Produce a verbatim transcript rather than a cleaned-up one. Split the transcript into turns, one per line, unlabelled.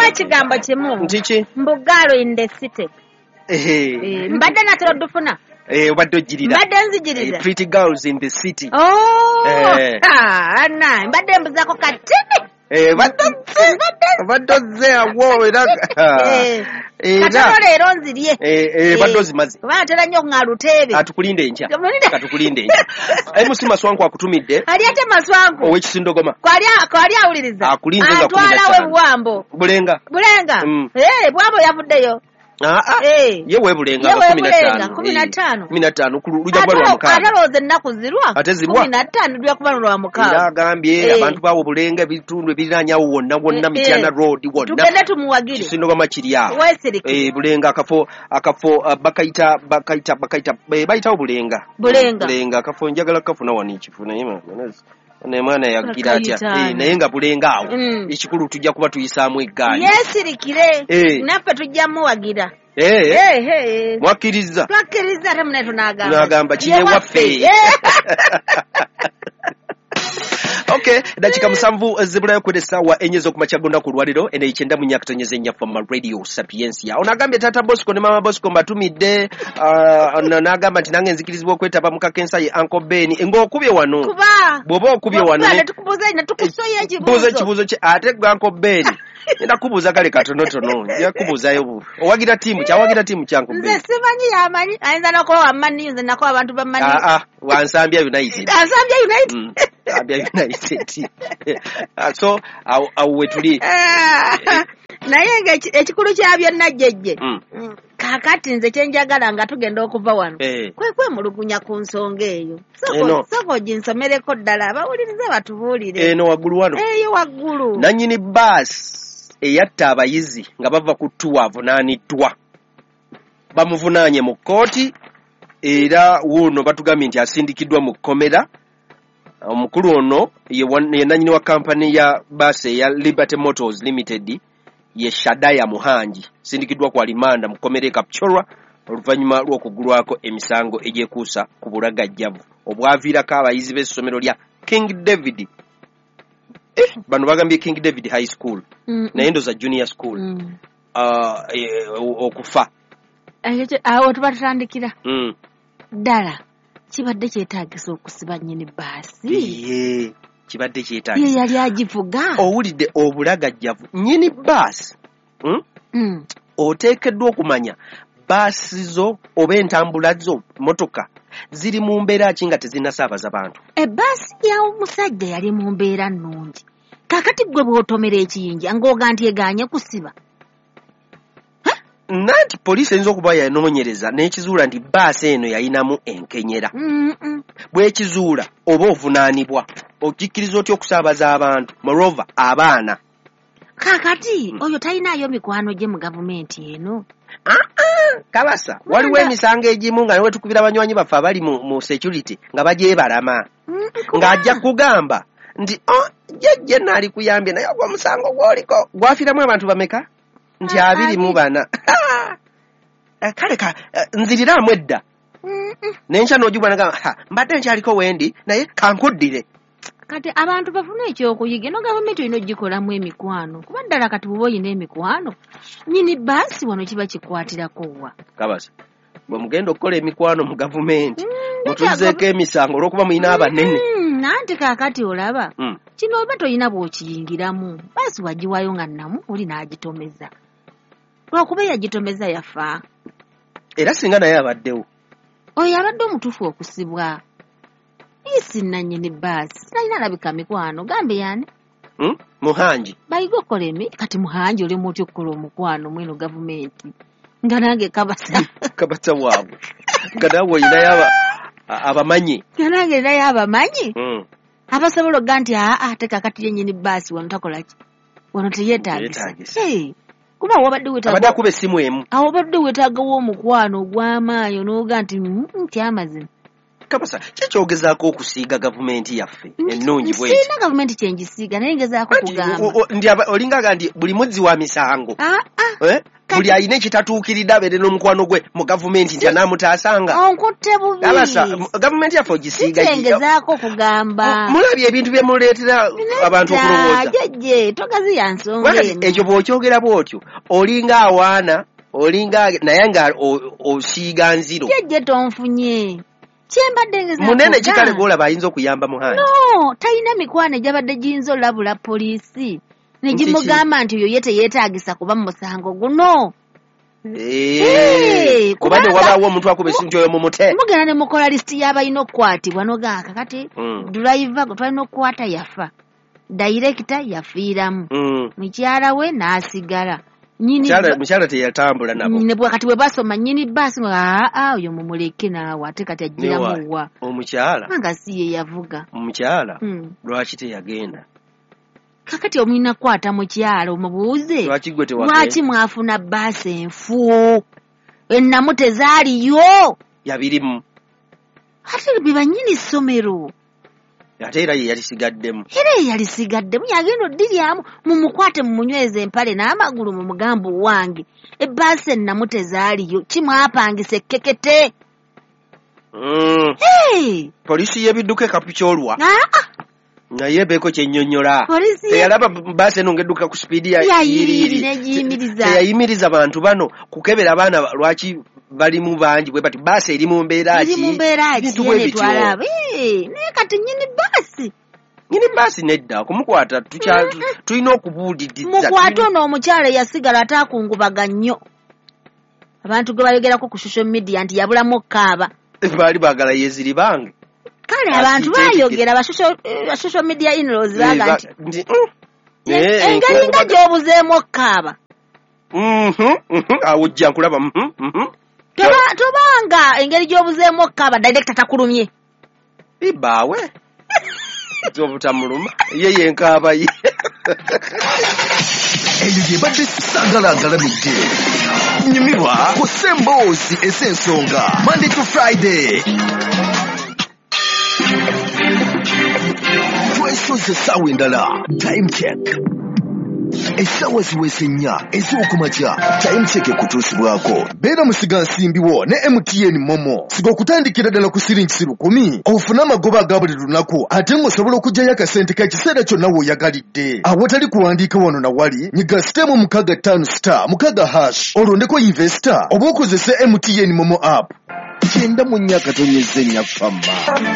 Ekigambo kimu.
Ntiki?
Mbugalo in the city.
Eh.
Mbadde natera odufuna.
Eh, obadde ojjirira.
Mbadde nzijirira.
Pretty girls in the city.
Oh.
Eh.
Ah, na, mbadde mbuzaako katini.
Eh, badde badde ozze awo era.
Eh. Katono leero nzirye.
Eh, eh, badde ozimaze.
Kuba atera nnyo nga luteebe.
Atukulinde enkya. Katukulinde enkya. M C Maswanku akutumidde.
Ali ate Maswanku.
Ow'ekisindogoma.
Kwali kwali awuliriza.
Akulinze nga kumi na ttaano.
Atwala we Bwambo.
Bulenga.
Bulenga.
Mm.
Eh, Bwambo yavuddeyo.
Ah ah.
Eh.
Ye we Bulenga
Ye we
kumi na
Bulenga,
ttaano.
kumi na ttaano.
Kumi na ttaano ku lujja kuba lwa mukaaga.
Ate alowooza ennaku zirwa.
Ate zirwa.
Kumi na ttaano lujja kuba lwa mukaaga.
Era agambye
Eh.
abantu baawo Bulenga ebitundu ebiriraanye awo wonna wonna
Eh,
Mityana
eh.
Road wonna.
Tugende tumuwagire.
Kisindogoma kiri awo.
Weesirike.
Eh, Bulenga akafo akafo uh, bakayita bakayita bakayita eh, bayitawo Bulenga.
Bulenga.
Bulenga akafo njagala kafuna wano ekifo naye ma- naye mwana yagira atya.
Bakayita.
Eh, naye nga Bulenga awo.
Mm.
Ekikulu tujja kuba tuyisaamu eggaali.
Yeesirikire.
Eh.
Naffe tujja muwagira.
Eh.
Eh, eh.
Mwakkiriza.
Twakkiriza ate munaye tunaagamba.
Tunaagamba kiri
Ye
ewaffe.
Eh.
Okay, dakika musanvu zibulayo kwera essaawa enye ez'okumakya gonna ku lwaliro eno ekyenda mu nnya akatonyeza ennya Fama Radio Sapientia. Ono agambye Taata Bosco ne Mama Bosco mbatumidde, ah, ono n'agamba nti nange nzikirizibwa okwetaba mu kakensa ye Uncle Ben. Ng'okubye wano.
Kuba.
Bw'oba okubye wano
Kuba
ne
ne tukubuuza ne tukusoya ekibuuzo.
Buuza ekibuuzo kye ate gwe Uncle Ben. Ngenda kubuuza kale katonotono. Nja kubuuzaayo bu. Owagira ttiimu ki? Awagira ttiimu ki Uncle
Nze
Ben?
simanyi yamanyi. Ayinza n'okuba wa Man U, nze nako abantu ba Man U.
Ah, ah, wa Nsambya United.
Nsambya United.
Mm, Nsambya United. Ah, so awo awo we tuli.
Ah, naye nga eki- ekikulu kya byonna jjejje.
Mm.
Mm, Kaakati nze kye njagala nga tugenda okuva wano.
Eh.
Kwe kwemulugunya ku nsonga eyo.
Eno.
Sooka sooka oginsomereko ddala abawuliriza batubuulire.
Eno waggulu wano.
Eyo waggulu.
Nannyini baasi eyatta abayizi nga bava ku ttuwa avunaaniddwa. Bamuvunaanye mu kkooti era wuuno batugambye nti asindikiddwa mu kkomera. Omukulu ono ye wa-, ye nannyini wa kampani ya baasi eya Liberty Motors Limited ye Shadaya Muhangi. Asindikiddwa ku alimanda mu kkomera e Kapchorwa oluvannyuma lw'okugulwako emisango egyekuusa ku bulagajjavu obwaviirako abayizi b'essomero lya King David. Eh, bano bagambye King David High School.
Mm,
Naye ndoza junior school.
mm.
Ah, eh, okufa.
Ekyo awo tuba tutandikira.
Mm.
Ddala kibadde kyetaagisa okusiba nnyini baasi.
Ye, kibadde kyetaagisa.
Ye yali agivuga.
Owulidde obulagajjavu. Nnyini baasi. Mm?
Mm.
Oteekeddwa okumanya baasi zo oba entambula zo motoka ziri mu mbeera ki nga tezinnasaabaza bantu.
Ebbaasi ya omusajja yali mu mbeera nnungi. Kaakati ggwe bw'otomera ekiyinja ng'oga nti egaanye kusiba.
Nanti poliisi eyinza okuba yanoonyereza n'ekizuula nti baasi eno yayinamu enkenyera.
Mm, mm.
Bw'ekizuula oba ovunaanibwa okikkiriza otya okusaabaza abantu, moreover abaana.
Kaakati
Mm.
oyo talinaayo mikwano gye mu gavumenti eno.
Ah, ah, kabasa waliwo
Kubanga-
emisango egimu nga ne wetukubira banywanyi baffe abali mu, mu security nga bagyebalama.
Mm,
Ng'ajja kugamba nti oh, jjajja naali kuyambye naye ogwo omusango gw'oliko gwafiiramu abantu bameka? Nti
Ah,
abiri mu
abiri.
bana. Eh, kale ka, eh, nziriramu edda.
Mm, mm.
N'enkya n'ogibwa n'agamba, ha, mbadde nkyaliko wendi naye kankuddire.
Kati abantu bafune ekyokuyiga eno gavumenti olina ogikolamu emikwano kuba ddala kati bw'oba olina emikwano nnyini baasi wano kiba kikwatirako wa.
Kabasa bwe mugenda okukola emikwano mu gavumenti
Mm,
mutuzeeko emisango olw'okuba mulina abanene.
Mm, anti kaakati olaba
Mm.
kino oba tolina bw'okiyingiramu baasi wagiwaayo nga nnamu oli n'agitomeza lwakuba eyagitomeza yafa.
Era singa naye abaddewo.
Oyo abadde omutuufu okusibwa. Isi nannyini baasi sinalina alabika mikwano gambe yani.
Mm? Muhangi.
Bayiga okukola emi kati Muhangi oli otya okukola omukwano mweno gavumenti nga nange kabasa.
Kabasa waabwe. Nga naawe olinayo aba- abamanyi.
Nga nange ninayo abamanyi.
Mm.
Abasobola okuga nti aa ate kaakati yennyini baasi wano takola ki? Wano teyeetaagisa.
Teyeetaagisa.
Hey, kuba wabadde
Abadde
weetaaga
akuba essimu emu.
awo obadde weetaagawo omukwano ogw'amaanyi onooga nti mm, nti amazima.
Kabasa ki kyogezaako okusiiga gavumenti yaffe ennungi bw'eti?
Sirina gavumenti kye ngisiiga naye ngezaako
Anti,
kugamba.
o- o- ndi aba- olinga aga nti buli muzzi wa misango.
Ah, ah.
Eh? Buli alina ekitatuukiridde abeere n'omukwano gwe mu gavumenti nti anaamutaasanga.
Onkutte bubi.
Alasa, gavumenti yaffe ogisiiga.
Kitengezaako kugamba.
Mulabye ebintu bye muleetera abantu okulowooza.
Jjajje, togaziya nsonga eno.
Ekyo bw'okyogera bw'otyo, olinga awaana, olinga naye nga osiiga nziro.
Jjajje tonfunye. Kyembadde ngezaako.
Munene kikale gw'olaba ayinza okuyamba Muhangi.
No, talina mikwano egyabadde giyinza olabula poliisi. Ne gimugamba nti oyo ye teyeetaagisa kuba mu musango guno.
Eh, kubadde wabaawo omuntu akuba essimu nti oyo mumute.
Mugenda ne mukola lisiti y'abalina okukwatibwa n'ogamba kakati driver gwe twalina okukwata yafa. Dayirekita yafiiramu. Mukyala we n'asigala.
Mukyala teyatambula nabo.
Ne kati bwe basoma nnyini bbaasi aa oyo mumuleke naawe ate kati agiramu wa.
Omukyala.
Kubanga si ye yavuga.
Omukyala lwaki teyagenda?
Kakati omulina kukwata mukyala omubuuze lwaki mwafuna bbaasi enfu ennamu tezaaliyo.
Yabirimu.
Ate be bannyini ssomero.
Ate era ye yalisigaddemu.
Era ye yalisigaddemu yagenda oddiryamu mumukwate mumunyweze empale n'amagulu mumugambe owange ebbaasi ennamu tezaaliyo kimwapangisa ekkekete.
Mm. Poliisi y'ebidduka e Kapchorwa. Naye beeko kyennyonnyola. Teyalaba bbaasi eno ng'edduka ku sipiidi ya yiriyiri. Teyayimiriza bantu bano kukebera abaana lwaki balimu bangi bwe bati bbaasi eri mu mbeera ki?
Eri mu mbeera ki? Naye kati nnyini bbaasi.
Nnyini bbaasi nedda okumukwata tulina okubuuliriza.
Mukwate ono omukyala eyasigala ate akungubaga nnyo. Abantu gwe bayogerako ku social media nti yabulamu okukaaba.
Baali baagala yeeziribange.
Kale abantu bayogera ba social media in-laws baga nti engeri nga gy'obuzeemu okukaaba.
Awo ojja nkulaba.
Tobanga engeri gy'obuzeemu okukaaba director takulumye.
Ibaawe obutamuluma ye yenkaaba ye.
Eyo gye badde sagala agalamidde. Nyumirwa ku Semboozi ez'ensonga Monday to Friday. Twesoze essaawa endala. Time check. Essaawa ziweze nnya ez'okumakya. Time check ekutuusibwako. Beera musigansimbi wo ne M T N Momo. Siga okutandikira ddala ku siringi lukumi. Ofune amagoba aga buli lunaku ate ng'osobola okuggyayo akasente k'ekiseera kyonna w'oyagalidde. Awatali kuwandiika wano na wali, nyiga sitemu mukaaga ttaano star mukaaga hash olondeko investor oba okozese M T N Momo app. Kyenda mu nnya akatonyeze nnya fama.